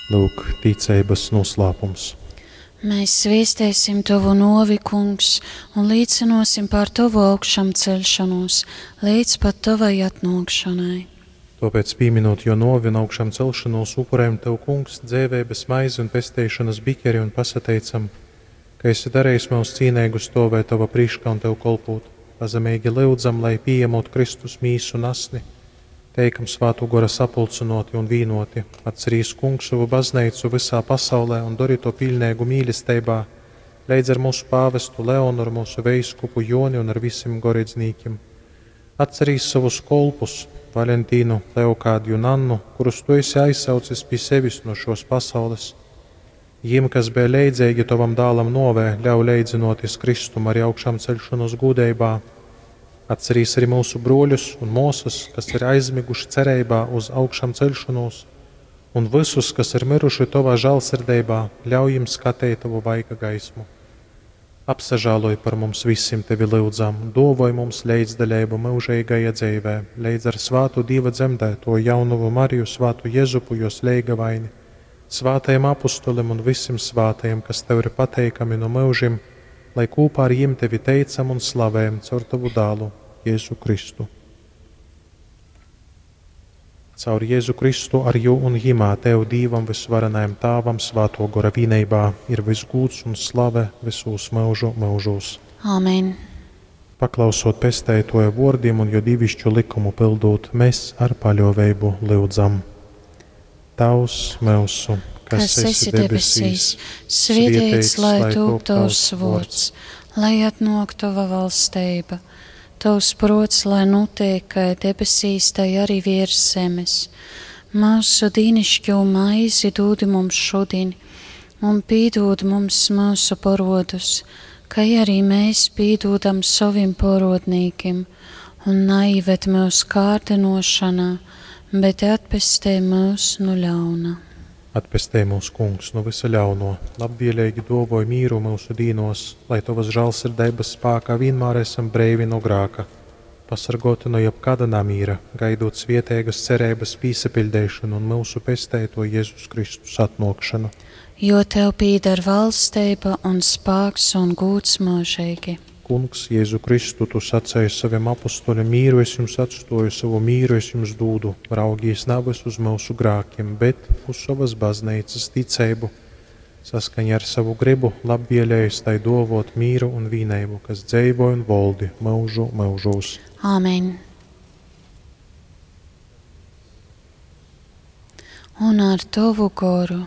Lūk, ticeibas noslēpums. Mēs sviestēsim Tovu novi, Kungs, un līcinosim par Tovu augšām celšanos, līdz pat Tovai atnākšanai. Tāpēc, pieminot jo novi un augšām celšanos, upurējam Tev, Kungs, dzēvēbes maizi un pesteišanas bikeri un pasateicam, ka esi darījis mūs cīnīgus stāvēt Tava prīškā un Tev kolpūt. Pazemīgi lyudzam, lai pieņemot Kristus mīsu un asni, teikam svātu gora sapulcinoti un vīnoti. Atcerīs Kungs savu baznīcu visā pasaulē un dori to pilnīgu mīlestībā, leidz ar mūsu pāvestu Leonu, ar mūsu veiskupu Joni un ar visiem goredznīkiem. Atcerīs savus kolpus, Valentīnu, Leokādiju un Annu, kurus tu esi aizsaucis pie sevis no šos pasaules. Jiem, kas bija leidzīgi tavam dālam novē, ļauj leidzinoties Kristum arī augšām celšanos gūdeibā. Atcerīs arī mūsu broļus un mūsas, kas ir aizmiguši cerībā uz augšām celšanos, un visus, kas ir miruši tavā žēlsirdībā, ļauj jiem skatīt tavu vaiga gaismu. Apsažāloj par mums visiem tevi lūdzam, dovoj mums leidzdaļību mūžīgajā dzīvē, leidz ar svātu Dieva dzemdēto jaunuvu Mariju, svātu Jezupu, jos leigavaini, svātajiem apustulim un visiem svātajiem, kas tev ir pateikami no mūžiem, lai kopā ar jiem tevi teicam un slavējam caur tavu dālu, Jēzu Kristu. Caur Jēzu Kristu ar jū un jimā Tev Dīvam visvarenajam Tāvam svāto gora vīneibā ir visgūds un slave visūs mūžu mūžūs. Āmen. Paklausot pestētoja vārdiem un jo divišķu likumu pildot, mēs ar paļoveibu lyudzam. Tavs mūsu, kas esi debesīs, svētīts lai top tavs vārds, lai atnāk tava valstība. Tavs prots, lai notiek, kā debesīs, tai arī virs zemes. Mūsu dīnišķo maizi dod mums šodien, un pīdod mums mūsu porodus, kā arī mēs pīdodam savim porodnīkim, un naivet mūsu kārdinošanā, bet atpestē mūs no ļauna. Atpestē mūs, Kungs, no visa ļauno, labvēlīgi dovoj mīru mūsu dīnos, lai tavas žēlsirdības spēkā vienmēr esam breivi no grāka, pasargoti no jebkāda namīra, gaidot svietēgas cerības pīsapildēšanu un mūsu pestēto Jēzus Kristus atnākšanu. Jo tev pīdar valstība un spēks un gūts mūžīgi. Kungs, Jēzu Kristu, tu sacēji saviem apustuļiem, mīru es jums atstoju, savu mīru es jums dūdu. Raugīs navas uz mūsu grākiem, bet uz savas baznīcas ticību. Saskaņā ar savu gribu labvēlējis tai dovot mīru un vīneibu, kas dzeivoja un voldi mūžu mūžos. Āmen. Un ar tavu goru.